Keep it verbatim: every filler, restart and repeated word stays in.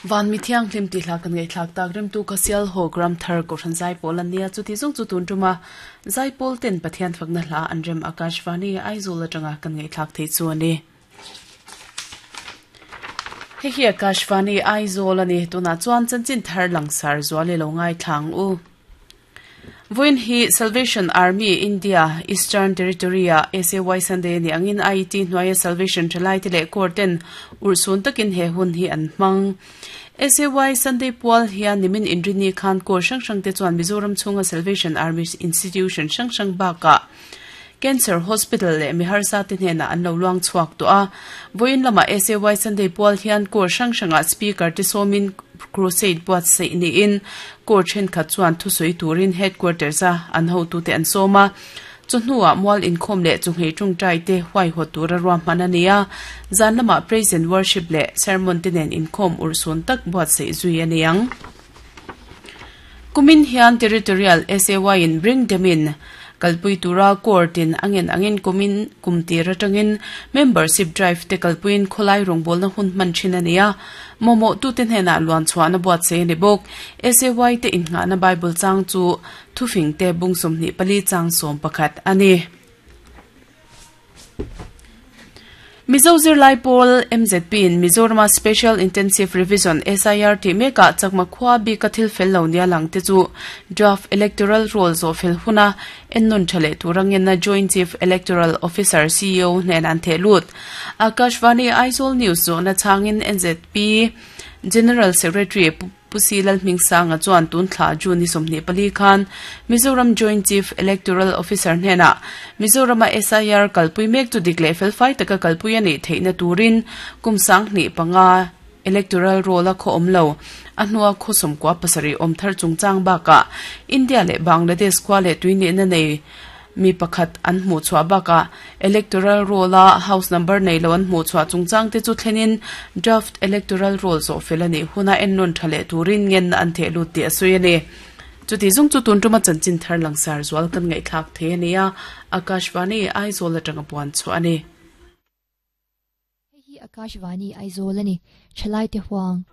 Van mi thiang hlim ti hla kan ngai thlak tak rem tu khasial ho gram thar ko than zai pol ania chu ti zong chu tun tuma zai pol ten Pathian fakna hla an rem Akashvani Aizawl atanga kan ngai thlak thei chu ani. He hi Akashvani Aizawl ani tuna chuan chanchin thar langsar zuale lo ngai thlang u. Voin hi Salvation Army India Eastern Territory a S A Y Sunday ni angin I T hnuaia Salvation thalai te leh court-ten ursun takin he hun hi an hmang. S A Y Sunday pual hian nimin inrini khan kor hrang hrang te chuan Mizoram chhunga Salvation Army Institution hrang hrang bakah Cancer Hospital leh miharsa te hnenah an lo luang chhuak tawh a. Voin lama S A Y Sunday pual hian kor hrang hrangah speaker te sawmin crusade buat sei niin kor thenkhat chuan thusui turin headquarters a an hotu te an sawm a. Chu hnuah mual inkhawm leh chu hei tawngtai te huai haw tura ruah hman a ni a. Zan lamah praise and worship leh sermon te nen inkhawm ursun tak buat sei zui a ni ang. Kumin hian territorial S A Y in bring them in kalpui tura court in angin angin kumin kumtir atangin membership drive te kalpuin kholai rongbol na hun man thin ania. Momo tu te hnena luan chuana buat se ni bok. S A Y te in nga na Bible chang chu thufing te bungsom ni pali chang som pakhat ani. Mizo Zirlai Pawl M Z P in Mizoram Special Intensive Revision S I R ti meka chakma khwa bi kathil fel lo nia lang te chu draft electoral rolls of fel huna ennon thale turangin na Joint Chief Electoral Officer C E O hnen an the lut. Akashvani Aizawl News zo na changin N Z P General Secretary Pusilal Mingsanga chuan tun thla June ni somni pali khan Mizoram Joint Chief Electoral Officer hnena Mizoram S I R kalpui mek chu dikle fel fai taka kalpui ani theina turin kumsang ni panga electoral roll a kho omlo a hnua khosom kwa pasari omthar chungchang baka India le Bangladesh kwa le tuini na nei mi pakhat an hmu chua baka electoral roll a house number nei lo an hmu chua chungchang te chu thlenin draft electoral roll zo felani huna ennon thale turin ngen an the lut ti asui ani. Chuti zung chu tun tuma chanchin thar langsar zual kan ngai thak the ania. Akashvani Aizawl atanga puan chu ani. Hi Akashvani Aizawl ani chalai te huang.